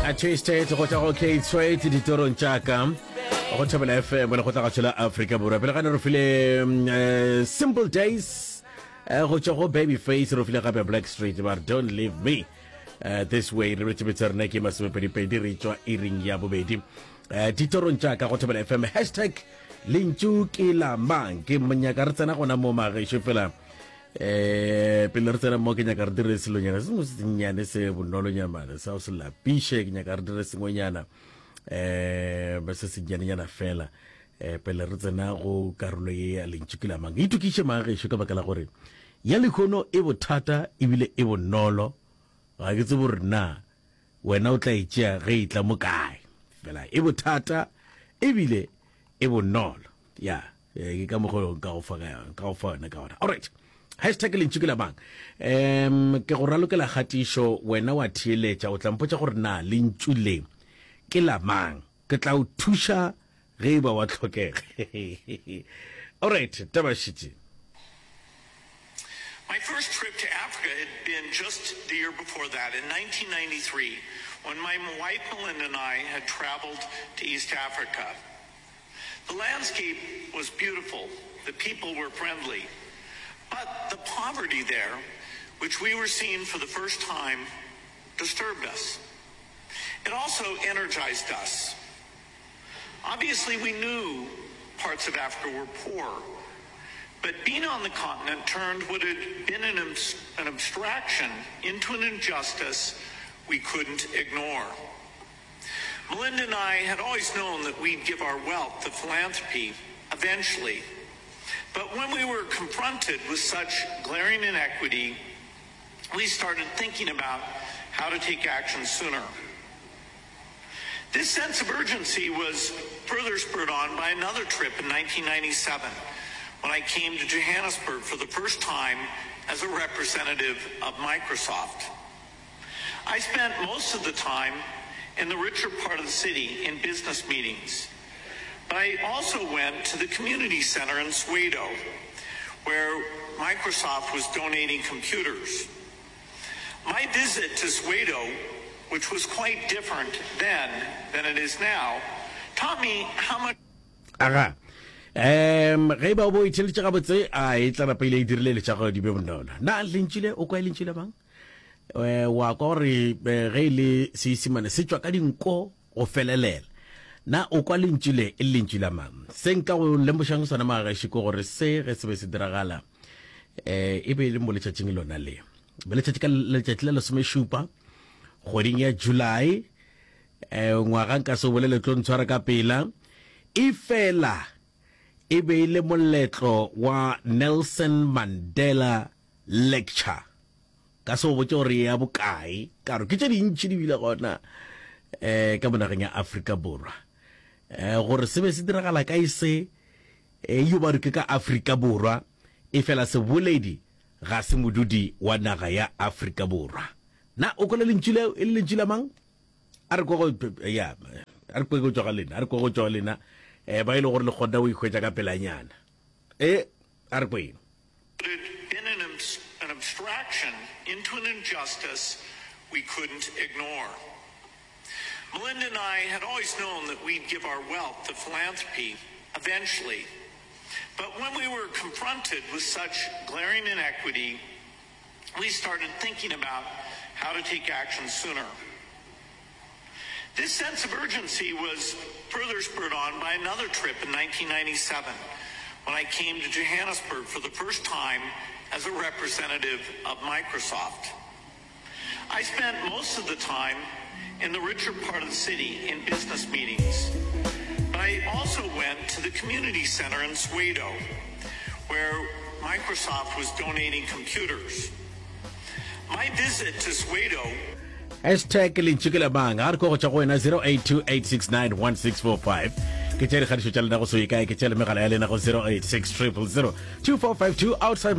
A Twisted go tšwa go Kate Strait ditorong tša ka go Thobela FM le go tla gašo la Afrika Borwa. Pele ga ne re file mm, eh, Simple Days eh, go tšwa go Babyface re file gape Black Street ba re Don't Leave Me eh, This Way re betse betse rena ke masomepedipedi re tšwa iring ya bobedi eh, ditorong tša ka go Thobela FM hashtag lentšu ke la mang ke monyaka re tsena gona mo magešo fela eh pele re tsena mo ke nyaka re dire selonyana se sengwe se sennyane se bonolonyamane sa o se lapiše ke nyaka re dire sengwenyana eh ba se sennyanenyana fela eh pele re tsena go karolo ye ya lentšu ke la mang itokiše mang gešo ka baka la gore ya lekhono e bothata ebile e bonolo ga ke tsebe gore na wena o tla e tšea ge e tla mo kae fela e bothata ebile e bonolo ya eh, ke ka mokgwa nka go fa ka yona ka go fa yona ka gona alright hashtag lentšu ke la mang um ke go ralokela kgatišo wena wa theeletša o tla mpotša gore na lentšu le ke la mang ke tla o thuša ge e ba wa tlhokega alright taba šitše My first trip to Africa had been just the year before that, in 1993, when my wife Melinda and I had traveled to East Africa. The landscape was beautiful, the people were friendly, but the poverty there, which we were seeing for the first time, disturbed us. It also energized us. Obviously, we knew parts of Africa were poor, but being on the continent turned what had been an, an abstraction into an injustice we couldn't ignore. Melinda and I had always known that we'd give our wealth to philanthropy eventually. But when we were confronted with such glaring inequity, we started thinking about how to take action sooner. This sense of urgency was further spurred on by another trip in 1997 when I came to Johannesburg for the first time as a representative of Microsoft. I spent most of the time in the richer part of the city in business meetings. But I also went to the community center in Soweto, where Microsoft was donating computers. My visit to Soweto, which was quite different then than it is now, taught me how much Aga. Um, ge e ba o bo itheletše gabotse, a e tla napa ile e dirile letša gore di be bonolo. Na lentšu le o kwa e lentšu le mang? Eh, wa kwa gore eh, ge e le Seisimane se tšwa ka dinko go felelela. Na o kwa lentšu le e le lentšu la mang? Se nka go lemošang sona magageši ke gore se ge se be se diragala eh, e be e le mo letšatšing lona le. Be letšatši ka letšatši la lesomešupa kgweding ya July eh, ngwaga nka se o bolele tlo ntshwara ka pela e fela e be e le moletlo wa Nelson Mandela Lecture. Ka se o botše gore ya bokae, ka gore ke tše dintši di bile gona eh ka mo nageng ya Afrika Borwa. Eh gore se be se diragala kae se eh yo ba re ke ka Afrika Borwa, e fela seboledi ga se modudi wa naga ya Afrika Borwa. Na o kwele lentšu leo e le lentšu la mang? A re kwe go ya a re kwe go tšwa ga lena, a re kwe go tšwa ga lena eh ba e le gore le kgona go ikhwetša ka pelanyana. Eh a re kweng. It had been an, an abstraction into an injustice we couldn't ignore. Melinda and I had always known that we'd give our wealth to philanthropy eventually. But when we were confronted with such glaring inequity, we started thinking about how to take action sooner. This sense of urgency was further spurred on by another trip in 1997 when I came to Johannesburg for the first time as a representative of Microsoft. I spent most of the time in the richer part of the city in business meetings. But I also went to the community center in Soweto, where Microsoft was donating computers. My visit to Soweto Hashtag lentšu ke la mang? Ga re kwa go tšwa go wena 0828691645. Ke tša dikgatišo tša lena go so ye kae, ke tša le megala ya lena go 086 000 2452 outside.